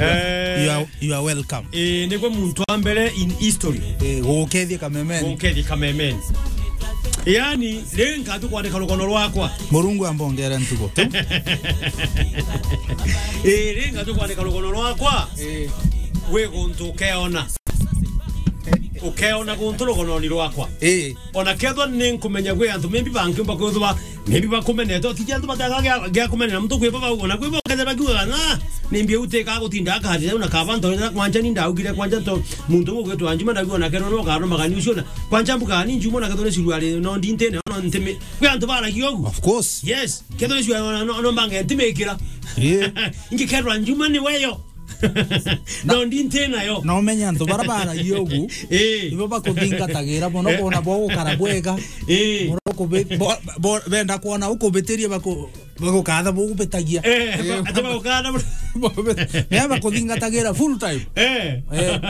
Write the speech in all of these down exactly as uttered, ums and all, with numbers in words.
Eh. You are, you are welcome. Eh, nigwe muntu wa mbere in history. Eh, gukethia kamemeni. Gukethia kamemeni. Yani, ri nkatu kwandika rugono rwakwa. Murungu ambongere ntugo tu. Eh, ri nkatu kwandika rugono rwakwa. Eh. Wi guntu ukeona. Ukeona guntu rugononi rwakwa. Eh. Ona kethwa ni nkumenya gwi antu maybe bangiumba kwithwa, maybe bakumenete, utiji antu bataga gia, gia kumenera muntu kwibo bau, ona kwibo kethira bakiugaga, "Na, ni mbi utikaga gutinda akahati, na kaba ntorera kwanja ni ndaugire kwanja nto, muntu ugwitwa Njuma ndagu ona kethwa no karo magani ucio na, kwanja mbuga ni Njuma ona kethwa ni suruari no ndintene, no ntimi." Kwi antu baragia ugu. Of course. Yes, kethwa ni suruari no, no, no mbange ntimikira. Yeah. Ingi kethwa Njuma ni weyo. No, ndi nti nayo. Na umenye antu bara baragia ugu, eh, ibo bakuthingatagira mono, eh, bona bo gukara bwega. Eh. Mono kubi-, bo, bo, benda kwona ukubitirie baku-, bagukatha bugubitagia. Eh, eh, ba-, ati bagukatha bu- Ne bakuthingatagira full time. Eh. Eh.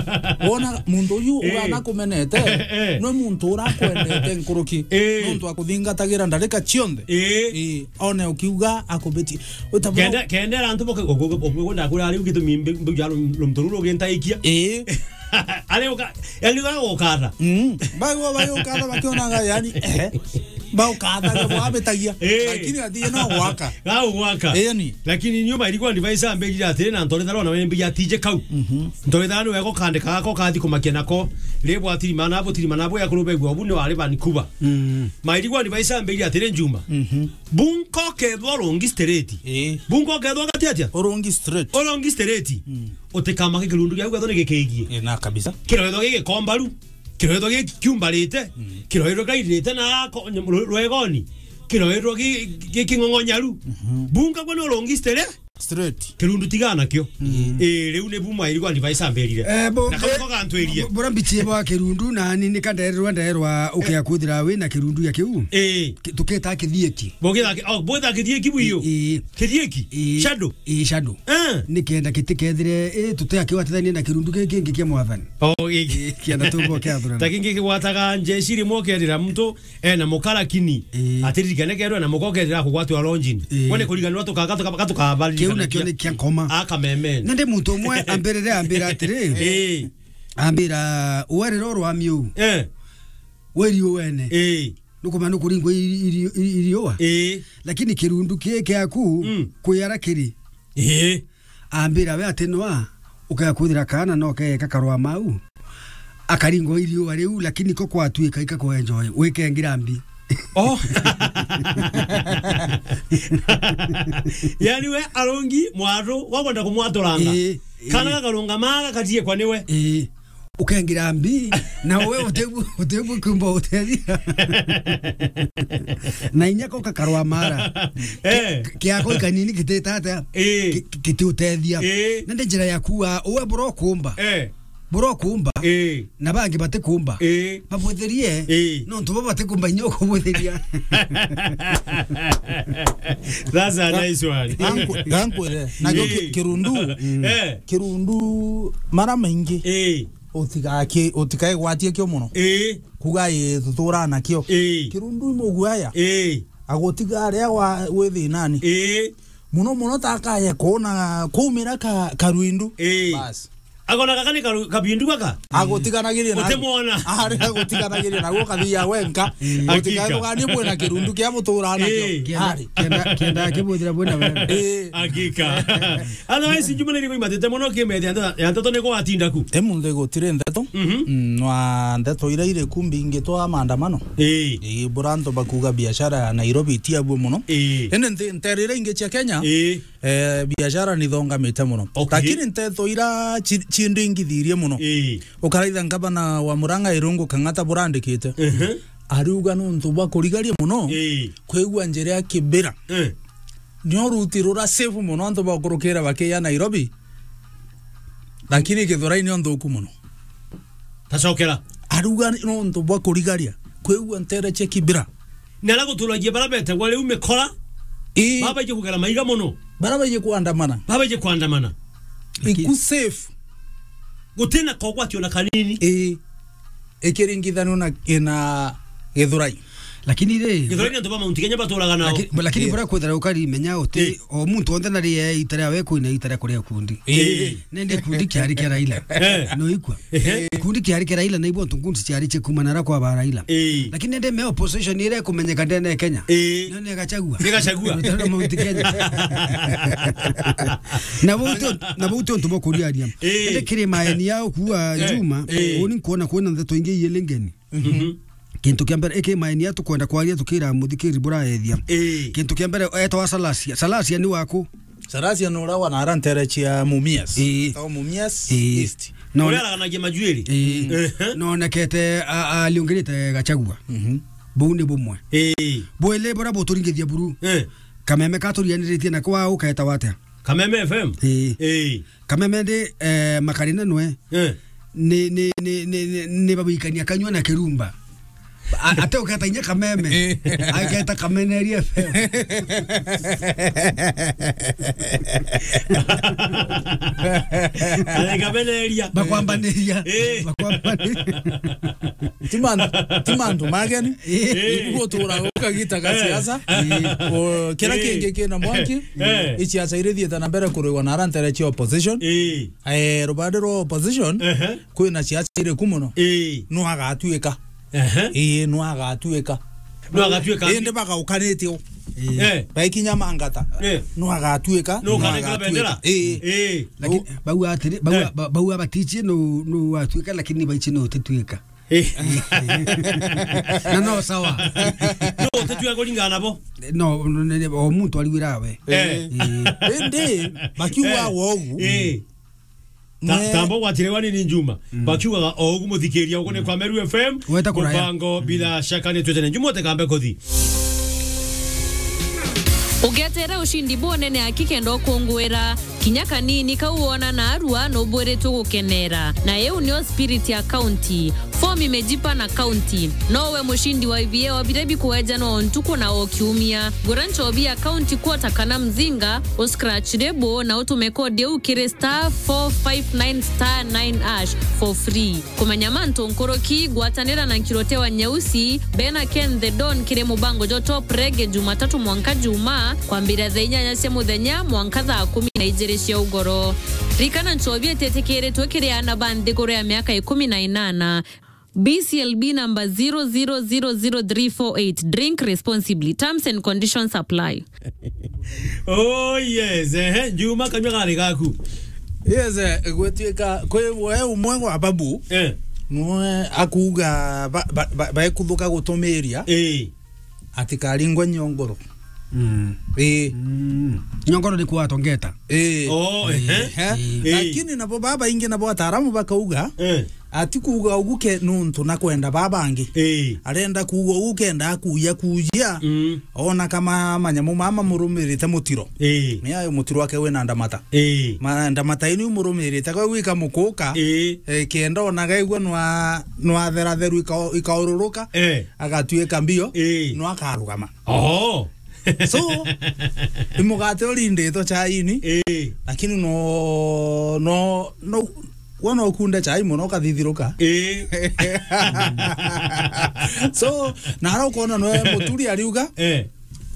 Wona muntu uyu, eh, ugana kumenete, eh, eh, nwe muntu urakwendete nkuruki. Eh. Nontu akuthingatagira ndarika cionthe. Eh. Eh. One ukiuga akubitie. Utabura- Kende, kende antu boke, okwenda kuri ari ugitumi mbi-, mbi-, ya rum-, rumtu ruru gintaikia. Ii. Ari uka, yani uga gukatha. Mm. Bagwa, bagwa ukatha bakionaga, yani, eh. Baukatha, bwabitagia. Ii. Lakini athie no gwaka. Ga gwaka. Ii, ni. Lakini nyuma ilikuwa device ambejira atiri na ntorethara na wembi ya tije kau. Mhm. Ntorethara ni wego kandika gako kathi kumakia nako. Ri bwatirimana, butirimana, bwa kurubegwa, obu ni wari Vancouver. Mm. Mairigwa ni baisa mbiri atiri Njuma. Mhm. Bunko kethwa urungi straight. Ii. Bunko kethwa gati atia? Urungi straight. Urungi straight. Mm. Utikamake kirundu giaku gethwa ni gikigie. Ii, na kabisa. Kiroethwa gigikombaru. Kiroethwa gikiumbarite. Mm. Kiroethwa gairite na ko-, ru-, rwegoni. Kiroethwa gi-, gi-, giking'ong'onyaru. Mhm. Bunka gwe ni urungi straight. Straight. Kirundu tigana kio. Mm. Eh, riu ni buma irigo advice ambirire. Eh, bo-, na kama ko gantwirie. Bo-, bora mbichie bwa kirundu na ni, ni kandererwa nderwa ukea kwithira wi na kirundu ya kiu. Eh. Ki-, tuketa kithieki. Bogitha ki-, oh, bogitha kithieki bwiyo. Eh, eh. Kithieki? Eh. Shadow? Eh, shadow. Eh. Ni kenda kitikethire, eh, tutea kiwatithanie na kirundu ki kingi kia mwathani. Oh, eh. Eh, kienda tumbo kia thurana. Ta kingi kigwataga njeshi rimwe ukerira muntu ena muka lakini, ii, atiririkane kerwe na muka ukerira kugwatwa lodging. Ii. Wone kuriganirwa tukaga tuka-, tukabaririkanira. Kiu nakio ni kia nkoma. Aka memen. Na ndi muntu umwe ambirire ambira atiri, ii, ambira, "Uwe riro rwa miu, eh, weri uwene. Ii. Nukumenya nukuringwa iri-, iri-, iri-, iriua. Ii. Lakini kirundu ki kiaku, mm, kwi ara kiri." Ii. Ambira, "We ati noa, ukea kwithira kaana no keeka karwa mau." Akaringwa iriua riu, lakini ko kwatuika ika kwenjoy, wikengira mbi. Oh. Yani we arongi mwaru, wakwenda kumwaturanga. Ii, ii. Kana gakarungama gakathie kwa niwe. Ii. Ukengira mbi, na we utebu, utebu kumba utethia. Na inya ko kakarwa mara. Eh. Ki-, kiako ikanini kititata. Ii. Ki-, ki-, kitiutethia. Ii. Na ndi njira ya kuwa, uwe bro kumba. Eh. Bro kumba. Ii. Na bangi batikumba. Ii. Babwitherie. Ii. Nontu bo batikumba inya ukubwitheria. That's a nice one. Ganku-, gankwire. Na gio ki-, ii, kirundu. Eh. Kirundu mara maingi. Ii. Utigaki-, utikaigwatie kio muno. Ii. Kuga ii, tuturaa nakio. Ii. Kirundu i muguaya. Ii. Agutiga aria wa, wi thinani. Ii. Muno muno ta akaye kuona kumira ka, karwindu. Ii. Bas. Agona gaka ni karu-, kabindu gaka? Agutiganagiria na utimwona. Ari agutiganagiria na gukathia wenka. Ii. Hakika. Utigaganie bwina kirundu kia mutura nakio. Ii. Ari. Kenda, kenda, kenda akibuthira bwina wega. Ii. Hakika. Otherwise, Njuma ni irigo imatite muno kimethe ya nteto, ya nteto ni gwatinda ku. Emunthe gutire nteto. Mhm. Mm, nwa nteto iria iri ku mbingi twa maandamano. Ii. Ii, bura antu bakuga biashara ya Nairobi itiabua muno. Ii. Indi nte-, ntere iria ingi cia Kenya, ii, eh, biashara nithongamite muno. Okay. Lakini nteto iria ci-, cindingithirie muno. Ii. Ukaraitha ngavana wa Murang'a Irungu Kang'ata burandikite. Mhm. Ariuga nuntu bwa kurigaria muno, ii, kwigua njira ya Kibera. Eh. Nio ruti rura safe muno antu bakurukira bakiya Nairobi. Lakini Githurai nio nthuku muno. Tacokera. Aruga ni nontu bwa kurigaria. Kwigua ntere cia Kibera. Na ala guturagia bara betagwa riu mikora. Ii. Babaije kugera maiga muno. Bara baije kuandamana. Babaije kuandamana. Iku safe. Gutina kogwati ona kanini. Ii. Ikiringithanio na, na Githurai. Lakini ri, Githweri ni antu ba Mount Kenya baturaga nao. Lakini, lakini Eh. bura kwithira ukari menya uti, Eh. o muntu onthe nari e itare awe kwina itare kuria kundi. Eh. Nende kundi kiari kia Raila. Eh. No ikwa. Ehe. Kundi kiari kia Raila na ibo ntu nkundi ciari cie kumana ra kwa ba Raila. Eh. Lakini nende me opposition ire kumenyeka ndene Kenya. Eh. None Gachagua. Ni Gachagua. Utaro Mount Kenya. Na bauti, na bauti untu bokuriaria. Eh. Nende kiri maeni yao kuwa Eh. Juma, Eh. uni nkuona kwina ndeto ingi iye lingeni. Mhm. Kintu kia mbere, iki maeni ya tukwenda kwaria tukira muthikiri buraethia. Ii. Kintu kia mbere, etwa Salasia. Salasia ni waku? Salasia ni ura wa nara ntere cia Mumias. Ii. Tao Mumias Ii. East. No, Uria araganagia majuiri. Ii. Ehe. Nonekete a-, aliungirite Gachagua. Mhm. Buu ni bumwe. Ii. Bwili bura buturingithia buru. Eh. Kameme katurianiritie na kwa uketa wate. Kameme F M? Ii. Ii. Kameme ndi, eh, Makarina nwe. Eh. Ni, ni, ni, ni, ni, ni babikania kanyua na kirumba. A-, ate uketa inya Kameme. Eh. Aketa Kameneria F M. Ale Kameneria. Bakwambaniria. Eh. Bakwambaniria. Ti mantu, ti mantu mageni. Eh. Ibu gutura ukagita ga Eh. siasa. Eh. O, kira Eh. kingi kina mwanki, Eh. isiasa iria ithiite na mbere kurigwa na ara ntere cia opposition. Eh. Eh, rubande rwa opposition, Ehe. kwina siasa iri ku muno. Eh. No agatuika. Ehe. Ii, no agatuika. No agatuika. Indi bagaukanite o. Eh. Baikinya mangata. Eh. No agatuika. No No agatuika. Bendera. Ii. Eh. Lakini bau atiri, bau, Eh. ba-, bau abatichie no, no atuika, lakini baichie no utituika. Eh. Na no sawa. No, utituika kuringana nabo. No, no, no, o muntu arigwira we. Eh. Ii. Indi, bakiuga Eh. wogu. Eh. Ta-, Mwe- tamba ugwatire wani ni Njuma. Mm. Bakiugaga o ugu muthikiria ugu ni kwa Meru F M. Weta kuraya. Mubango bila shaka ni twetene. Njuma utekambe kuthi. Ugetere ushindi bunene aki kenda ukungwira. Kinya kanini kau wona narua nubwiritwe gukenera. Na iu nio spirit ya county. Form imejipa na county. Nowe mushindi wa ibieo biria bikuejanwa o ntuku na o kiumia. Gura nchobi ya county quarter kana mzinga, uscratch label na utume kodi iu kiri star four five nine star nine hash for free. Kumenya mantu nkuruki, gwatanira na Nkirote wa Nyeusi, Bena Ken the Don kiri mubango jwa Top Reggae Jumatatu mwanka Juma, kwambira thaa inyanya cia muthenya mwanka thaa kumi na ijiri cia ugoro. Rikana nchobi ititikiritwe kiri aana ba nthiguru ya miaka ikumi na inana. B C L B number zero zero zero zero three four eight. Drink responsibly. Terms and conditions apply. Oh, yes. Ehe, Juma, kanyua gari gaku. Yes, eh, gwituika kwi we umwe gwa babu. Eh. Nwe akuuga ba-, ba-, ba-, baikuthuka gutumiria. Eh. Atikaringwe nyongoro. Mm. Ii. Mm. Nyongoro ni kuatongeta. Ii. Oh, ehe. Ehe. Ii. Lakini nabo babaingi nabo ataaramu bakauga, Eh. ati kuuga ugu ke nuntu na kwenda babangi. Ii. Arenda kuuga ugu kenda akuya kuya. Mm. Ona kama manyamu mama murumirite mutiro. Ii. Ni ayo mutiro wake wina ndamata. Ii. Ma-, ndamata inu murumirite kwa gwika mukuka. Ii. Eh, kenda ona gaigua nwa, nwatheratheru ika-, ikaururuka. Eh. Agatuika mbio, Ii. no akarugama. Oh. So, imugate urinditwo chaini, Ii. lakini no, no, no, wona ukunde chai muno ukathithiruka. Ii. So, na ara ukona no muturi ariuga, Eh.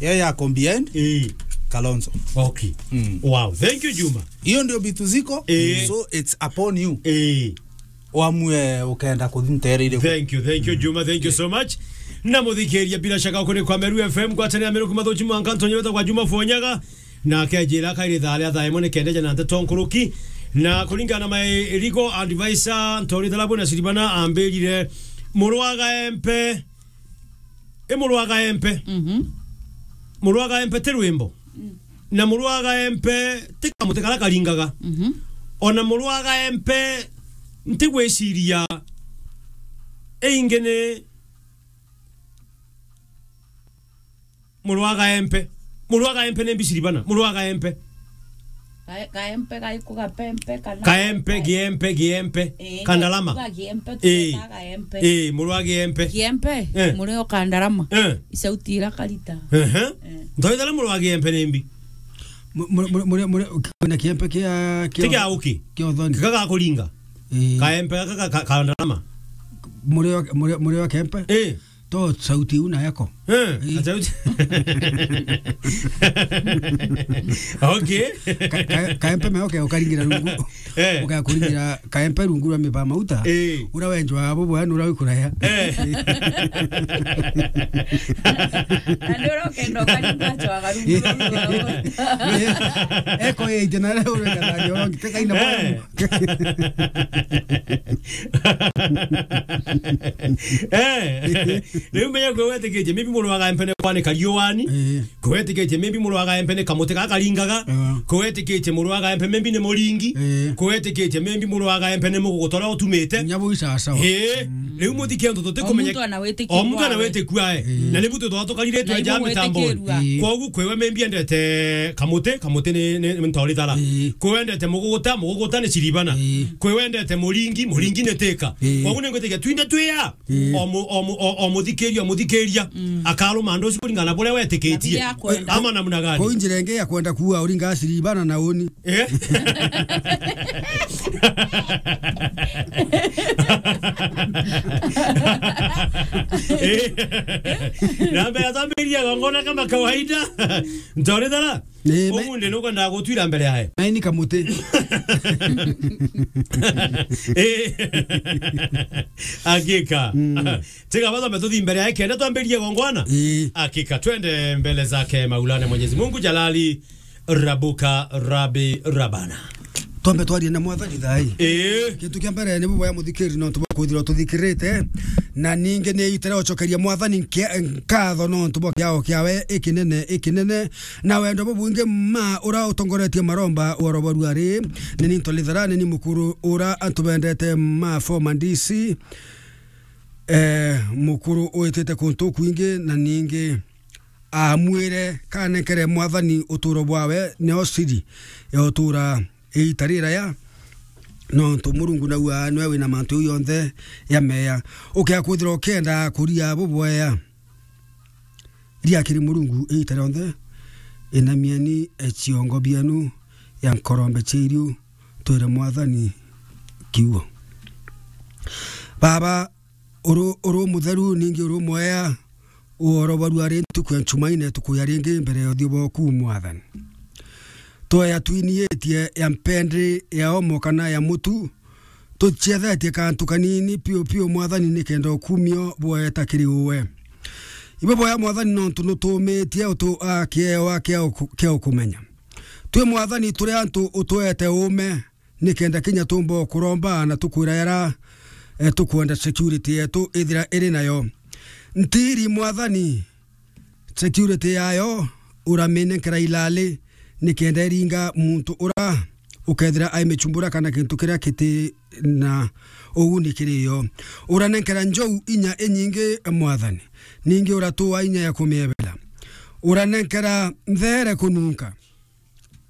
ye ya combined, Ii. Kalonzo. Okay. Mm. Wow. Thank you, Juma. Hiyo ndio vitu ziko. Ii. So, it's upon you. Ii. Wamue ukenda kuthi ntere iriku. Thank you, thank you, Juma, thank you so much. Na muthikiria, bila shaka, kuri kwa Meru F M, gwatanira Meru kuma thuchi mwanka ntonye weta kwa Juma Fonyaga. Na akejira kairi thaa ria thaa imwe ni kendeja na nteto nkuruki. Na kuringana na my legal advisor, Ntori Thalabu na Siribana ambirire, murwaga empe. I murwaga empe. Mhm. Murwaga empe ti rwimbo. Mm. Na murwaga empe ti kamuti kara karingaga. Mhm. Ona murwaga empe nti gwiciria ingi ni murwaga empe. Murwaga empe ni mbiciri bana. Murwaga empe. Ka-, kaempe, gaiko, gapempe, kana Kaempe, giempe, giempe. Eh, Kandarama. Ga-, giempe, Eh. Tugetaa gaempe. Eh, murwa giempe. Giempe, Eh. Murio Kandarama. Eh. Isauti ira karita. Ehe. Eh. Ntoithana murwa giempe ni mbi. Mu-, mu-, mu-, murio, murio, kwina kiempe kia, kia Ti kia uki. Kia uthoni. Kika ga kuringa. Eh. Kaempe gaka ka, ka, Kandarama. Murio, murio, murio kiempe. Eh. To sauti una yako. Eh, ii. Acha uti. Okay. Ka-, ka-, kaempe meo ke ukaringira rungu. Eh. Ukakuringira kaempe rungu rwa miba mauta. Eh. Ura wenjwa abo bwana ura wikuraya. Eh. Na ndio ukenda ukaringa chwa karungu. Eh. Eko ye itena ura kana yo ngiteka ina. Eh. Eh, riu menya kwe wetikitie maybe muru wa gaempe ni kwanika riuani. Eh. Kwe wetikitie maybe muru wa gaempe ni kamuti gakaringaga. Eh. Kwe wetikitie muru wa gaempe maybe ni muringi. Eh. Kwe wetikitie maybe muru wa gaempe ni muguguta uria utumite. Nyabu isasawa. Eh, mm. Riu muthikia antu tutikumenya. O muntu ana witikiru wawe. O muntu ana witikiru wawe. Eh. Na nibu tutwa tukariritwe ja mitambo. Ii. Kogu kwewe maybe endete kamuti, kamuti ni, ni, ni ntorithara. Ii. Kwewe endete muguguta, muguguta ni ciribana. Ii. Kwewe endete muringi, muringi ni tika. Ii. Kogu ni ngwitikia twinde twi a. Ii. O mu-, o mu-, o, o muthikiria, o muthikiria. Mm. Akaruma ndu ucio kuringana na buria wetikitie. Na biria akwenda. Ama namna gani? Ko njira ingi ya kwenda kuua uringa ciribana na uni. Eh? Eh. Na mbere atambiria gongona kama kawaida. Ntorithara. Eh, me- Umunthi nukwenda gutwira mbere yae. Maini kamuti. Eh. Hakika. Mm. Tiga bathome tuthi mbere yae kenda twambirie gongwana. Eh. Hakika twende mbele zake Maulana Mwenyezi Mungu Jalali. Rabuka Rabi Rabana. Twambe twarie na Mwathani thai. Ii. Kintu kia mbere ni buboya muthikiri nontu bwa kwithirwa tuthikirite, na ningi ni itire ucokeria Mwathani nkia-, nkatho nontu bwa kiao kiawe ikinene, ikinene, na wendo bubwingi ma ura utongoretie maromba woro bwa ruari. Ni ni Ntolithera, ni ni mukuru ura antubendete ma former D C, eh, mukuru uitite kuntu kwingi, na ningi amwire kanenkere Mwathani uturo bwawe, nio siri ya utura iita riraya, nontu Murungu naua niwe wina mantu jau jonthe ya meya. Ukia kwithirwa ukienda kuria buboya, ria kiri Murungu iita rionthe, inamieni ciongo bienu ya nkorombe cia iriu, twire Mwathani kiugo. Baba, uru, uru mutheru, ningi uru mwea, uoro bwa ruari ntuku ya Nchumaine tukuya ringi mbere ya uthiu bwaku, Mwathani. Tweya twiniitie ya mpendi ya omo kana ya mutu, tuciethetie kantu kanini piu piu, Mwathani, nikenda ukumio bweta kiri uwe. Ibo boya, Mwathani, nontu nutumitie utu a kiewa kia uku-, kia ukumenya. Twi, Mwathani, turi antu utwete ume, nikenda kinya tumba kuromba na tukwira yara, eh, tukwenda security yetu ithira iri nayo. Ntiri, Mwathani, security yayo uraminenkera ilali, nikenda iringa muntu ura ukethira aimichumbura kana kintu kiria kiti na uguni kiri yo. Uranenkera njou inya inyingi, Mwathani, ningi uratua inya ya kumiebera. Uranenkera nthere kununka.